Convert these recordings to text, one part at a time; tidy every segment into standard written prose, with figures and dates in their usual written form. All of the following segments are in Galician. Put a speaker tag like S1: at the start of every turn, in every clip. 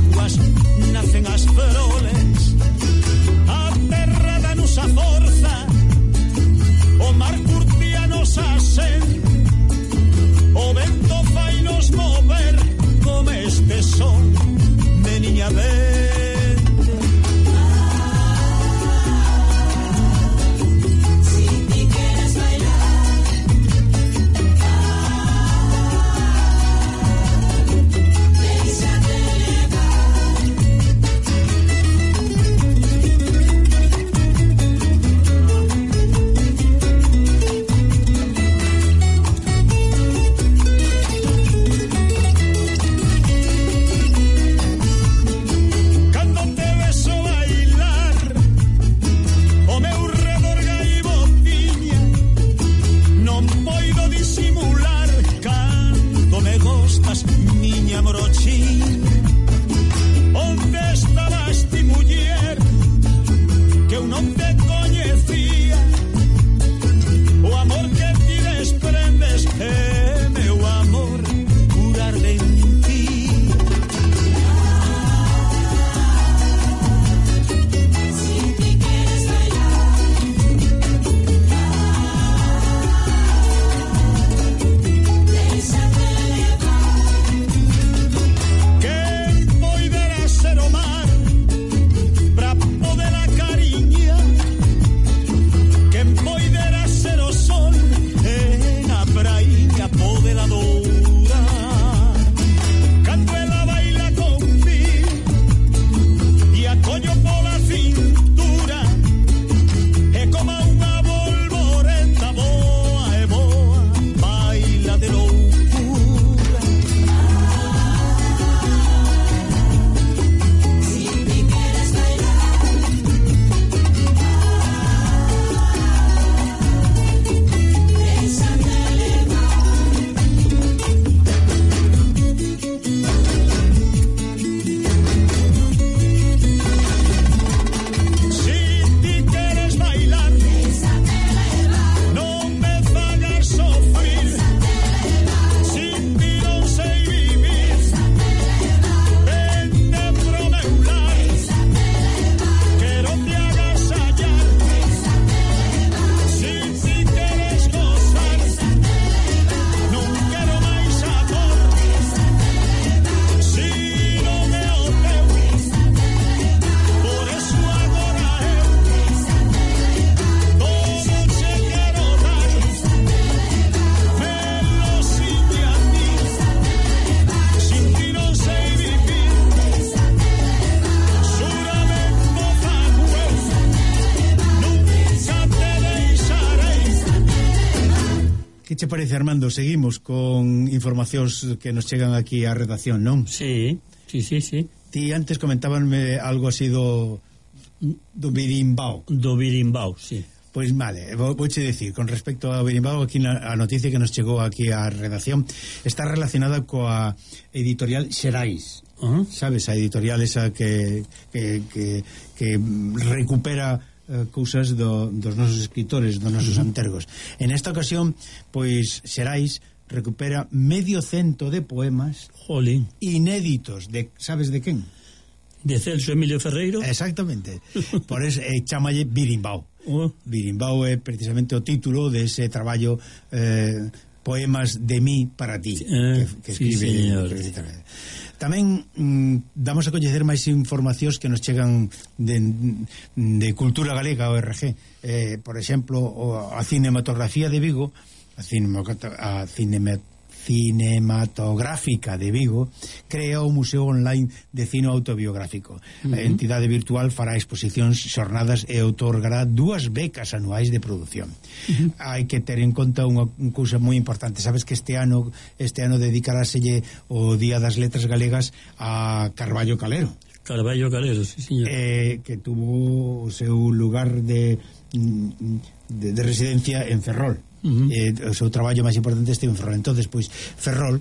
S1: aguas nacen as flores, a terra danos a forza, o mar curtía nos asen, o vento fai nos mover como este son, meniña vente.
S2: Que che parece, Armando? Seguimos con informacións que nos chegan aquí á redacción, non?
S3: Sí.
S2: Ti antes comentábanme algo así do birimbao.
S3: Do birimbao, sí.
S2: Pois vale, vouche dicir, con respecto ao birimbao, aquí a noticia que nos chegou aquí á redacción está relacionada coa editorial Xerais. Sabes, a editorial esa que recupera cousas dos nosos escritores, dos nosos antergos. En esta ocasión, pois Xerais recupera 100 de poemas inéditos de, sabes de quen?
S3: De Celso Emilio Ferreiro.
S2: Exactamente. Por eso chamalle Birimbao. Birimbao é precisamente o título de ese traballo, Poemas de mí para ti, que escribe. Tamén damos a coñecer máis informacións que nos chegan de Cultura Galega, ORG. Por exemplo, a cinematografía de Vigo, a cinematográfica de Vigo, crea o Museo Online de Cine Autobiográfico. A entidade virtual fará exposicións, xornadas e outorgará 2 becas anuais de produción. Hai que ter en conta unha cousa moi importante. Sabes que este ano dedicaráselle o Día das Letras Galegas a Carballo Calero.
S3: Carballo Calero, sí, señor.
S2: Que tuvo o seu lugar de residencia en Ferrol. O seu traballo máis importante este en Ferrol. Entonces, pois, Ferrol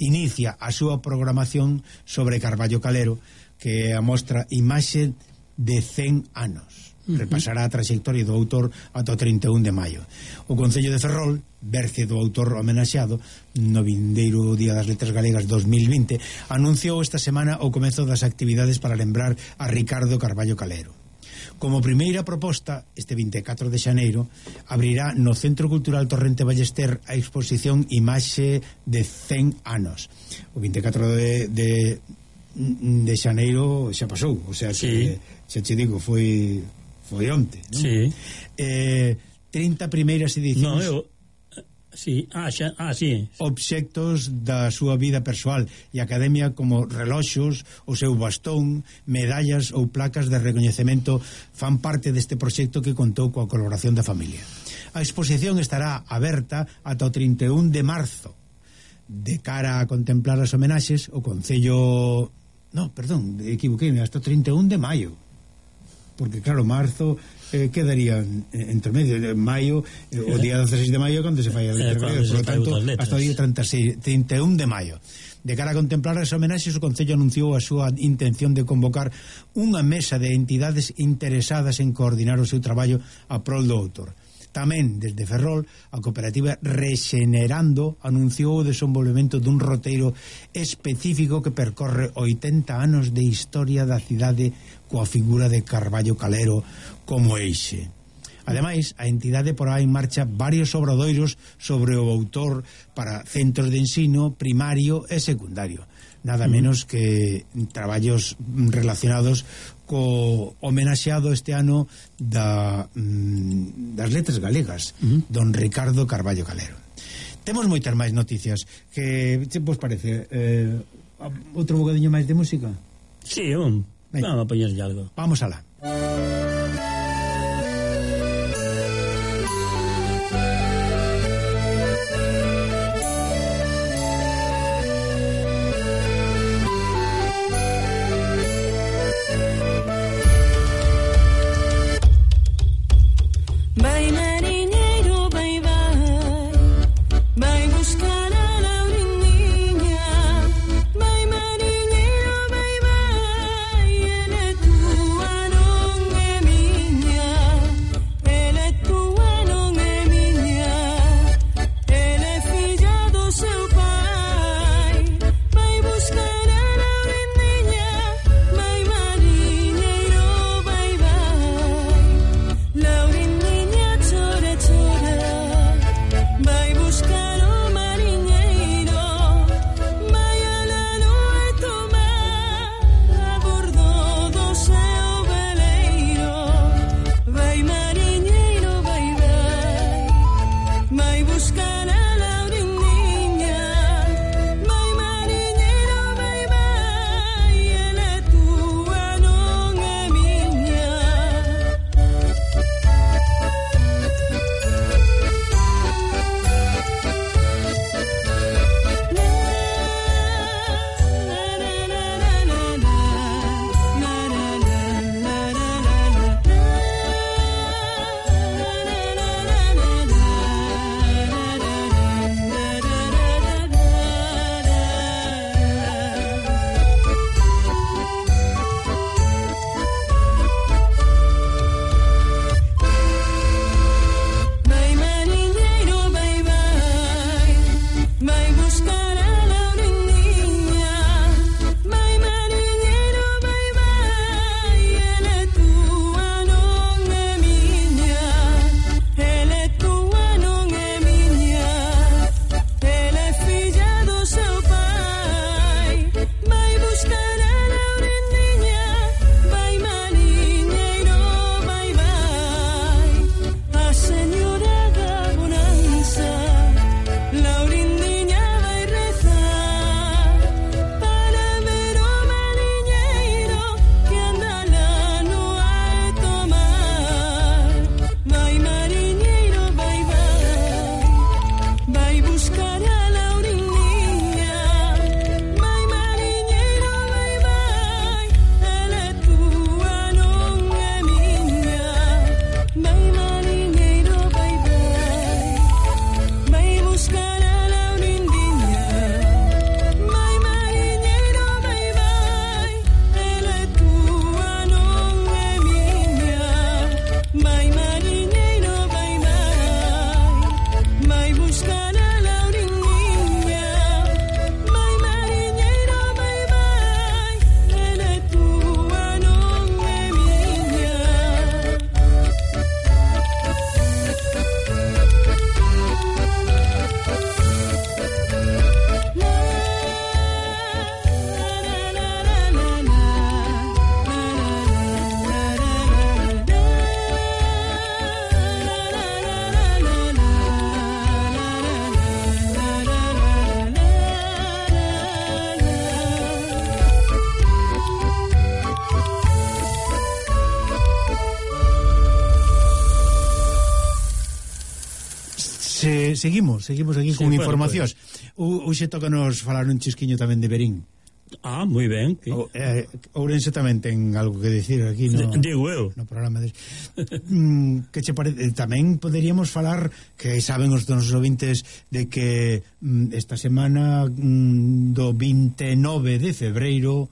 S2: inicia a súa programación sobre Carballo Calero, que amostra imaxe de 100 anos. repasará a trayectoria do autor ata o 31 de maio. O Concello de Ferrol, berce do autor homenaxeado no vindeiro Día das Letras Galegas 2020, anunciou esta semana o comezo das actividades para lembrar a Ricardo Carballo Calero. Como primeira proposta, este 24 de xaneiro abrirá no Centro Cultural Torrente Ballester a exposición Imaxe de 100 anos. O 24 de xaneiro xa pasou, o sea, que, xa te digo, foi onte, non?
S3: Sí.
S2: 30 primeiras edicións.
S3: No, sí, sí.
S2: Obxectos da súa vida persoal e academia, como reloxos, o seu bastón, medallas ou placas de recoñecemento, fan parte deste proxecto que contou coa colaboración da familia. A exposición estará aberta ata o 31 de marzo. De cara a contemplar as homenaxes, o Concello... No, perdón, equivoquei, hasta o 31 de maio. Porque, claro, marzo... quedaría entre medio de maio, o día 16 de maio cando se fai a letra galega, por lo tanto hasta o día 31 de maio. De cara a contemplar as homenaxes, o Concello anunciou a súa intención de convocar unha mesa de entidades interesadas en coordinar o seu traballo a prol do autor. Tamén, desde Ferrol, a cooperativa Rexenerando anunciou o desenvolvemento dun roteiro específico que percorre 80 anos de historia da cidade coa figura de Carballo Calero como eixe. Ademais, a entidade porá en marcha varios obradoiros sobre o autor para centros de ensino primario e secundario. Nada menos que traballos relacionados co homenaxeado este ano das letras galegas, don Ricardo Carballo Calero. Temos moitas máis noticias. Que vos parece? Outro bocadiño máis de música?
S3: Sí, vamos a poñerlle algo.
S2: Vamos alá.
S4: Vai marinheiro, vai, vai, ele é tua, não é
S2: seguimos aquí con informacións. Hoxe toca nos falar un chisquiño tamén de Verín.
S3: Ah, moi ben.
S2: Ourense tamén ten algo que decir aquí
S3: digo eu
S2: no programa que che parece. Tamén poderíamos falar, que saben os nosos ouvintes, de que esta semana do 29 de febreiro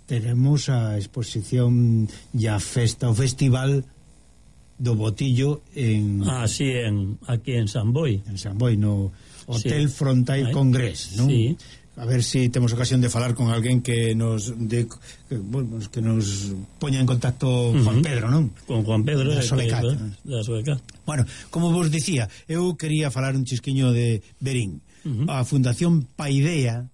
S2: teremos a exposición e a festa, o festival do Botillo aquí en San Boi, no Hotel Frontier Congress, non? Sí. A ver si temos ocasión de falar con alguén que nos poña en contacto Juan Pedro, non?
S3: Con Juan Pedro
S2: da Solecat. Bueno, como vos dicía, eu quería falar un chisquiño de Verín. A Fundación Paideia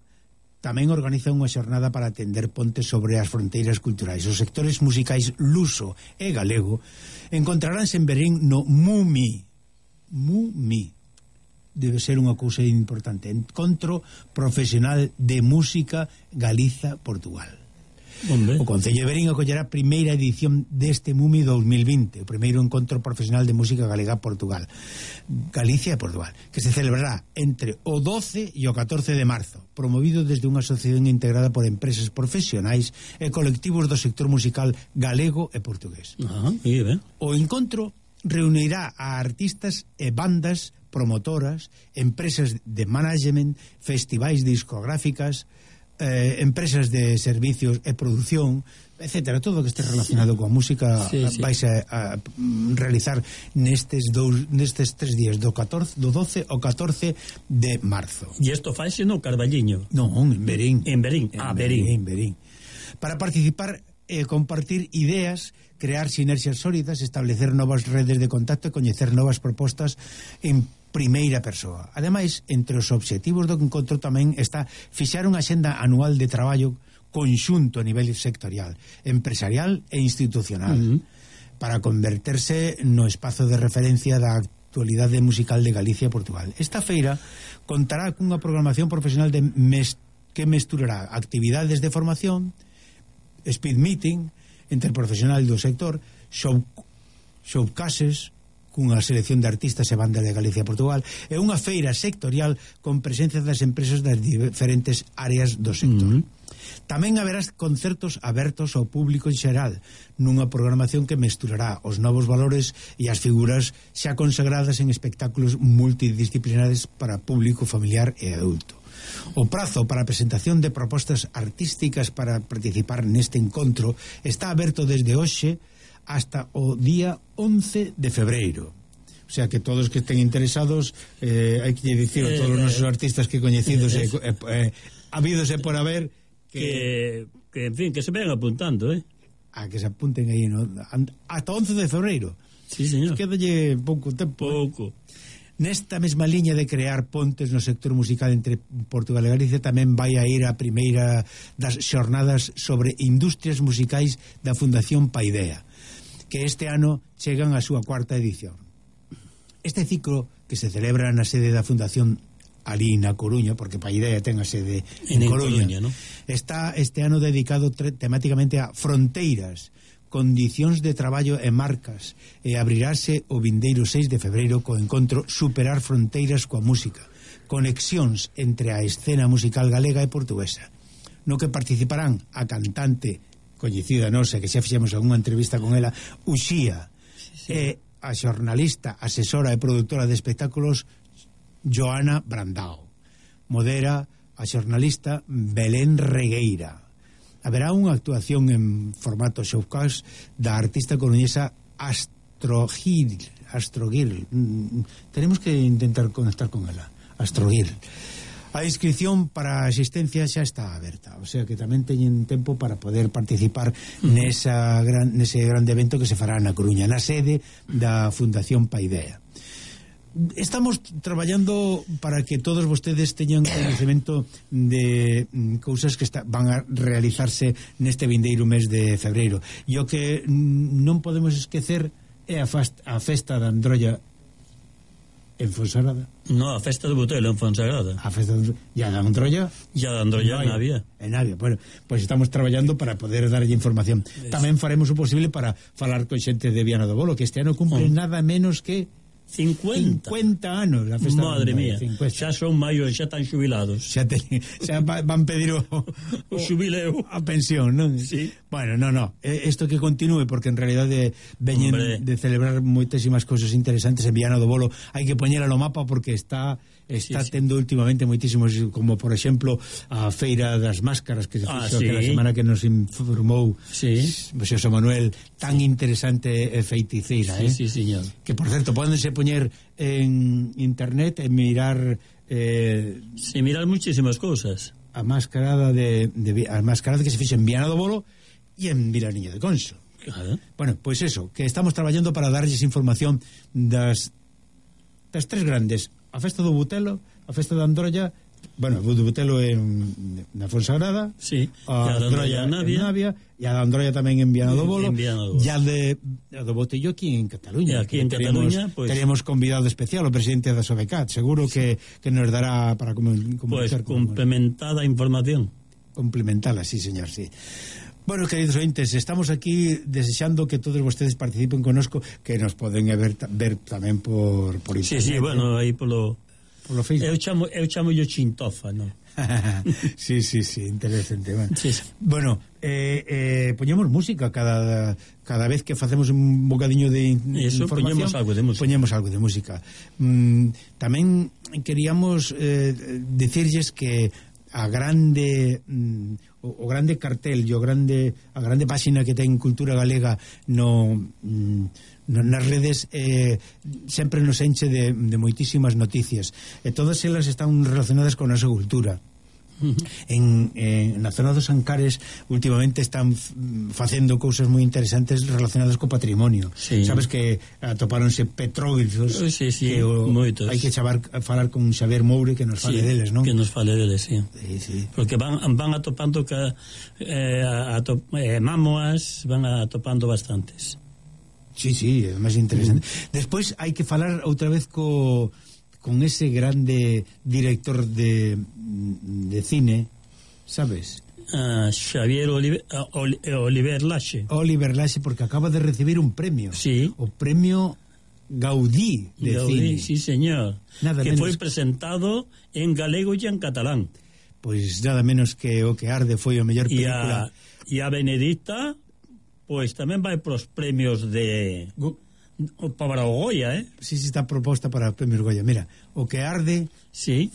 S2: tamén organiza unha xornada para atender pontes sobre as fronteiras culturais. Os sectores musicais luso e galego encontraránse en Verín no MUMI. Debe ser unha cousa importante. Encontro Profesional de Música Galiza-Portugal. O Concello de Verín acollerá a primeira edición deste MUMI 2020, o primeiro encontro profesional de música galega-Portugal, Galicia e Portugal, que se celebrará entre o 12 e o 14 de marzo, promovido desde unha asociación integrada por empresas profesionais e colectivos do sector musical galego e portugués. O encontro reunirá a artistas e bandas, promotoras, empresas de management, festivais discográficas, empresas de servicios e produción, etcétera, todo o que este relacionado coa música. Vais a realizar nestes 3 días, do 12 ao 14 de marzo.
S3: E isto faise no Carballiño?
S2: Non, en Verín.
S3: En Verín.
S2: Para participar e compartir ideas, crear sinerxias sólidas, establecer novas redes de contacto e coñecer novas propostas en primeira persoa. Ademais, entre os obxectivos do encontro tamén está fixar unha axenda anual de traballo conxunto a nivel sectorial, empresarial e institucional, para converterse no espazo de referencia da actualidade musical de Galicia e Portugal. Esta feira contará cunha programación profesional que mesturará actividades de formación, speed meeting entre profesional do sector, showcases cunha selección de artistas e bandas de Galicia e Portugal, e unha feira sectorial con presencia das empresas das diferentes áreas do sector. Tamén haberá concertos abertos ao público en xeral, nunha programación que mesturará os novos valores e as figuras xa consagradas en espectáculos multidisciplinares para público familiar e adulto. O prazo para a presentación de propostas artísticas para participar neste encontro está aberto desde hoxe hasta o día 11 de febreiro. O sea que todos que estén interesados, hai que dicir a todos os nosos artistas que coñecidos habidos e por haber
S3: que en fin, que se vayan apuntando,
S2: a que se apunten aí, ¿no? Hasta 11 de febreiro.
S3: Sí, señor.
S2: Quédalle pouco tempo. Nesta mesma liña de crear pontes no sector musical entre Portugal e Galicia, tamén vai a ir a primeira das xornadas sobre industrias musicais da Fundación Paideia, que este ano chegan a súa 4ª edición. Este ciclo, que se celebra na sede da Fundación ali na Coruña, porque Paideia ten a sede en Coruña, ¿no? Está este ano dedicado temáticamente a fronteiras, condicións de traballo e marcas, e abrirase o vindeiro 6 de febreiro co encontro Superar Fronteiras coa Música, conexións entre a escena musical galega e portuguesa, no que participarán a cantante coñecida nosa, que xa fixemos algunha entrevista con ela, Uxía, e a xornalista, asesora e produtora de espectáculos Joana Brandao. Modera a xornalista Belén Regueira. Haberá unha actuación en formato showcase da artista coruñesa Astrogirl. Tenemos que intentar conectar con ela. Astrogirl. A inscripción para a asistencia xa está aberta, o sea que tamén teñen tempo para poder participar nese grande evento que se fará na Coruña, na sede da Fundación Paideia. Estamos traballando para que todos vostedes teñan conhecimento de cousas que van a realizarse neste vindeiro mes de febreiro, e o que non podemos esquecer é a festa da Androlla en Fonsagrada.
S3: No, a festa do Botelo en Fonsagrada.
S2: A festa da Androlla?
S3: Ya da Androlla en Navia.
S2: En Navia, bueno, pois estamos traballando para poder darlle información. Tamén faremos o posible para falar con xente de Viana do Bolo, que este ano cumple nada menos que
S3: 50
S2: anos a festa.
S3: Madre mía, xa son maiores, xa están xubilados.
S2: Xa van pedir o
S3: xubileo,
S2: a pensión, non?
S3: Sí.
S2: Bueno, isto que continúe, porque en realidade veñen de celebrar moitísimas cousas interesantes en Viana do Bolo. Hai que poñela no mapa porque está tendo últimamente moitísimos, como por exemplo a Feira das Máscaras que se fixo aquela semana que nos informou Xosé Manuel, tan interesante e feiticeira,
S3: Sí, señor.
S2: Que por certo, pódense poñer en internet e mirar
S3: mirar muchísimas cousas.
S2: A mascarada que se fixo en Viana do Bolo e en Vilariño de Conso.
S3: Claro.
S2: Bueno, pois eso, que estamos traballando para darlles información das tres grandes: a festa do Butelo, a festa da Androlla, bueno, o do Butelo na Fonsagrada,
S3: a
S2: Androlla en Navia, e a da Androlla tamén en Viana do Bolo, e a do Botello aquí en Cataluña.
S3: Aquí en Cataluña, pois...
S2: Teríamos convidado especial o presidente da Sobecat, seguro que nos dará para comunicar.
S3: Pois complementada información.
S2: Complementada, sí, señor, sí. Bueno, queridos ointes, estamos aquí desexando que todos vostedes participen connosco, que nos poden ver tamén por internet.
S3: Sí, bueno, aí polo
S2: Facebook.
S3: Eu chamo yo Chintofa, non?
S2: sí, interesante. Bueno, poñemos música cada vez que facemos un bocadiño de información. Poñemos algo de música. Tamén queríamos decirlles que a grande o grande cartel e a grande páxina que ten Cultura Galega nas redes sempre nos enche de moitísimas noticias, e todas elas están relacionadas con a nosa cultura. Na zona dos Ancares últimamente están facendo cousas moi interesantes relacionadas co patrimonio. Sabes que atopáronse petróglifos que hai que falar con Xavier Moure que nos fale deles, non?
S3: Que nos fale deles, sí. Porque van atopando mámoas, van atopando bastantes.
S2: Sí, é máis interesante. Despois hai que falar outra vez con ese grande director de cine, sabes?
S3: Xavier Oliver Laxe.
S2: Oliver Laxe, porque acaba de recibir un premio. O premio Gaudí de cine.
S3: Sí, señor. Que foi presentado en galego e en catalán.
S2: Pois nada menos que O que arde foi a mellor película.
S3: E a Benedicta, pois tamén vai pros premios para o Goya,
S2: Sí, está proposta para o premio Goya. Mira, O que arde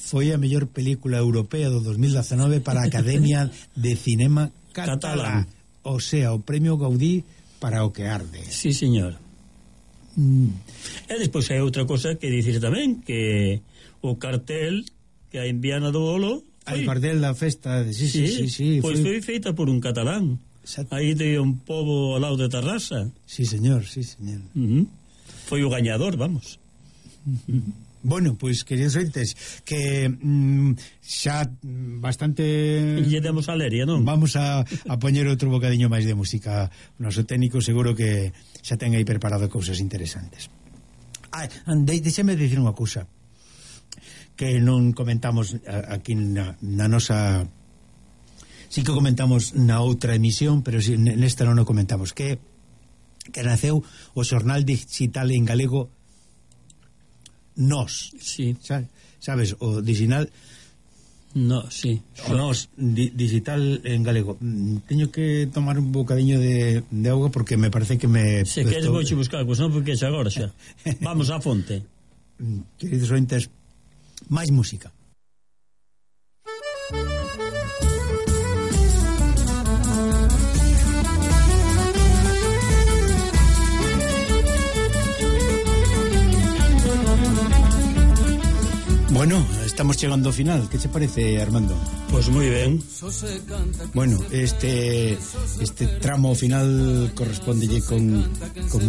S2: foi a mellor película europea do 2019 para a Academia de Cinema Catalán. O sea, o premio Gaudí para O que arde.
S3: Sí, señor. E despois hai outra cosa que dicir tamén, que o cartel que hai en Viana do Bolo,
S2: o cartel da festa, sí.
S3: Pois foi feita por un catalán. Aí de un pobo ao lado de Tarrasa.
S2: Sí, señor.
S3: Foi o gañador, vamos.
S2: Bueno, pois, queridos ointes, que xa bastante...
S3: Lle demos a leria, non?
S2: Vamos a poñer outro bocadiño máis de música. O noso técnico seguro que xa ten aí preparado cousas interesantes. Deixeme dicir unha cousa que non comentamos aquí na nosa... Sí que comentamos na outra emisión, pero nesta non o comentamos, que naceu o xornal digital en galego Nós.
S3: Sí.
S2: Sabes, o digital o Nós digital en galego. Teño que tomar un bocadiño de auga porque me parece que me...
S3: Se queres vou buscar, pois non, porque xa agora xa. Vamos á fonte.
S2: Queridos ointes, máis música. Bueno, estamos chegando ao final. Que che parece, Armando?
S3: Pois moi ben.
S2: Bueno, este tramo final correspondelle con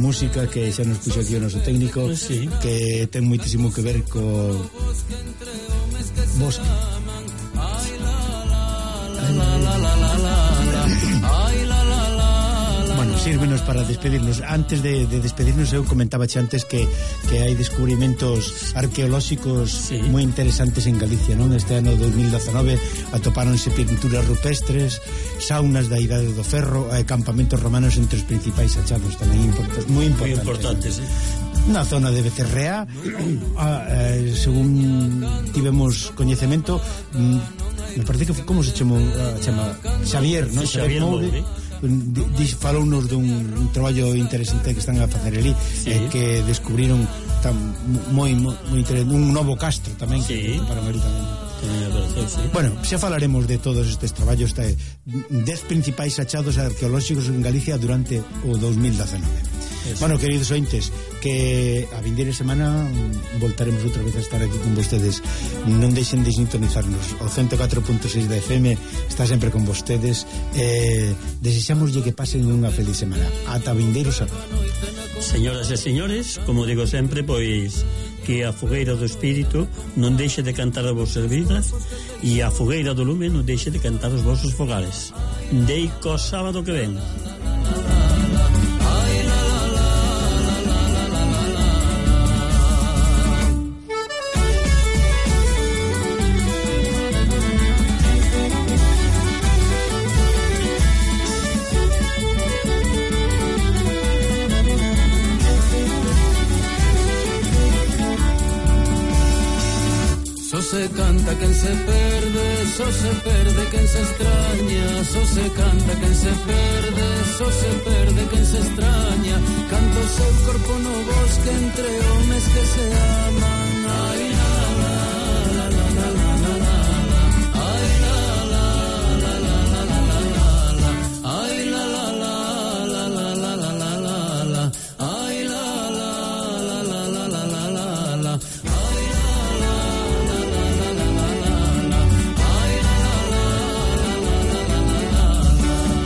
S2: música que xa nos puxo aquí o noso técnico, que ten moitísimo que ver co bosque. Bueno, sírvenos para despedirnos. Antes de despedirnos, eu comentaba antes que hai descubrimentos arqueolóxicos moi interesantes en Galicia, non? Este ano 2019 atopáronse pinturas rupestres, saunas da Idade do Ferro, campamentos romanos entre os principais achados tamén moi importantes. na zona de Becerrea, según tivemos coñecemento, me parece que como se chama Xavier, non?
S3: Xavier Moure
S2: falounos dun traballo interesante que están a facer ali, que descubriron moi interesante un novo castro tamén, que para María tamén. Bueno, xa falaremos de todos estes traballos, 10 principais achados arqueolóxicos en Galicia durante o 2019. Bueno, queridos ointes, que a vindeira semana voltaremos outra vez a estar aquí con vostedes. Non deixen de sintonizarnos. O 104.6 da FM está sempre con vostedes. Desexámoslle que pasen unha feliz semana. Ata vindeiro sábado.
S3: Señoras e señores, como digo sempre, pois que a fogueira do espírito non deixe de cantar as vosas vidas e a fogueira do lume non deixe de cantar os vosos fogares. Deico sábado que ven.
S4: Se canta quen se perde, só se perde quen se extraña, só se canta quen se perde, só se perde quen se extraña. Canto o seu corpo no bosque entre homes que se aman. Ai,